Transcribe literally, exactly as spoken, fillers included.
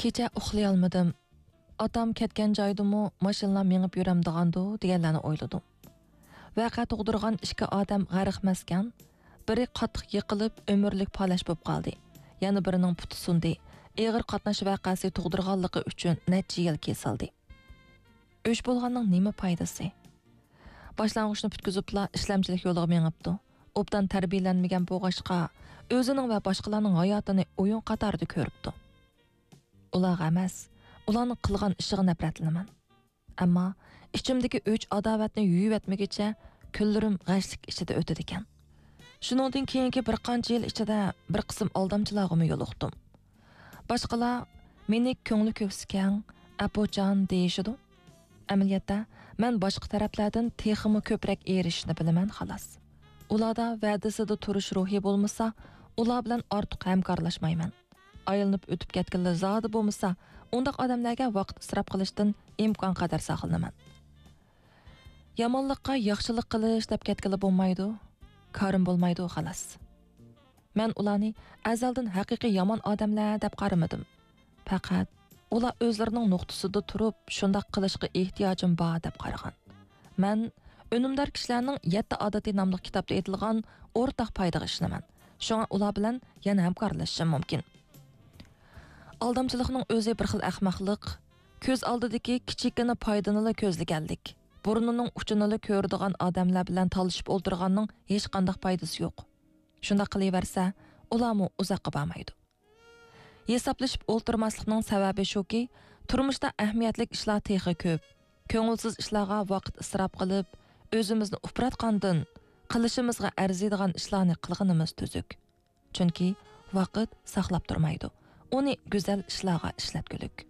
كېچە ئۇخلىيالمىدىم. ئاتام كەتكەن جايدىمۇ ماشىنىلار مېڭىپ يۈرەمدىغاندۇ دېگەنلەرنى ئويلىدىم. ۋەقە تۇغدۇرغان ئىككى ئادەم غەرقمەسكەن، بىرى قاتتىق يىقىلىپ ئۆمۈرلۈك پالەچ بولۇپ قالدى. يەنە بىرىنىڭ پۇتى سۇندى. ئېغىر قاتناش ۋەقەسى تۇغدۇرغانلىقى ئۈچۈن نەچچە يىل كېسىلدى. ئۆچ بولغاننىڭ نېمە پايدىسى؟ باشلانغۇچنى پۈتكۈزۈپلا ئىشلەمچىلىك يولىغا مېڭىپتۇ. ئوبدان تەربىيەلەنمىگەن بولغاچقا، ئۆزىنىڭ ۋە باشقىلارنىڭ ھاياتىنى ئويۇن قاتارىدا كۆرۈپتۇ. ئۇلارغا ئەمەس، ئۇلارنىڭ قىلغان ئىشىغا نەپرەتلىنىمەن. ئەمما ئىچىمدىكى ئۆچ ئاداۋەتنى يۇيۇۋەتمىگىچە كۈنلىرىم غەشلىك ئىچىدە ئۆتىدىكەن. شۇنىڭدىن كېيىنكى بىر قانچە يىل ئىچىدە بىر قىسىم ئالدامچىلارغىمۇ يولۇقتۇم. باشقىلار مېنى كۆڭلى كۆكسى كەڭ، ئەپۇچان دېيىشىدۇ. ئەمەلىيەتتە، مەن باشقا تەرەپلەردىن تېخىمۇ كۆپرەك ئېرىشىشنى بىلىمەن، خالاس. ئۇلاردا ۋەدىسىدە تۇرۇش روھى بولمىسا، ئۇلار بىلەن ئارتۇق ھەمكارلاشمايمەن. ئايلىنىپ ئۆتۈپ كەتكىنىلا زادى بولمىسا، ئۇنداق ئادەملەرگە ۋاقىت ئىسراپ قىلىشتىن ئىمكان قەدەر ساقلىنىمەن. يامانلىققا ياخشىلىق قىلىش دەپ كەتكىلى بولمايدۇ، كارىم بولمايدۇ، خالاس. مەن ئۇلارنى ئەزەلدىن ھەقىقىي يامان ئادەملەر دەپ قارىمىدىم. پەقەت ئۇلار ئۆزلىرىنىڭ نۇقتىسىدا تۇرۇپ، شۇنداق قىلىشقا ئېھتىياجىم بار دەپ قارىغان. مەن ئۈنۈمدار كىشىلەرنىڭ يەتتە ئادىتى ناملىق كىتابتا ئېيتىلغان ئورتاق پايدىغا ئىشىنىمەن. شۇڭا ئۇلار بىلەن يەنە ھەمكارلىشىشىم مۇمكىن. ئالدامچىلىقنىڭ ئۆزى بىر خىل ئەخمەقلىق، كۆز ئالدىدىكى كىچىككىنە پايدىنىلا كۆزلىگەنلىك، بۇرنىنىڭ ئۇچىنىلا كۆرىدىغان ئادەملەر بىلەن تالىشىپ ئولتۇرغاننىڭ ھېچقانداق پايدىسى يوق. شۇنداق قىلىۋەرسە، ئۇلارمۇ ئۇزاققا بارمايدۇ. ھېسابلىشىپ ئولتۇرماسلىقنىڭ سەۋەبى شۇكى، تۇرمۇشتا ئەھمىيەتلىك ئىشلار تېخى كۆپ. كۆڭۈلسىز ئىشلارغا ۋاقىت ئىسراپ قىلىپ، ئۆزىمىزنى ئۇپراتقاندىن، قىلىشىمىزغا ئەرزىيدىغان ئىشلارنى قىلغىنىمىز تۈزۈك. چۈنكى ۋاقىت ساقلاپ تۇرمايدۇ. ئۇنى گۈزەل ئىشلارغا ئىشلەتكۈلۈك.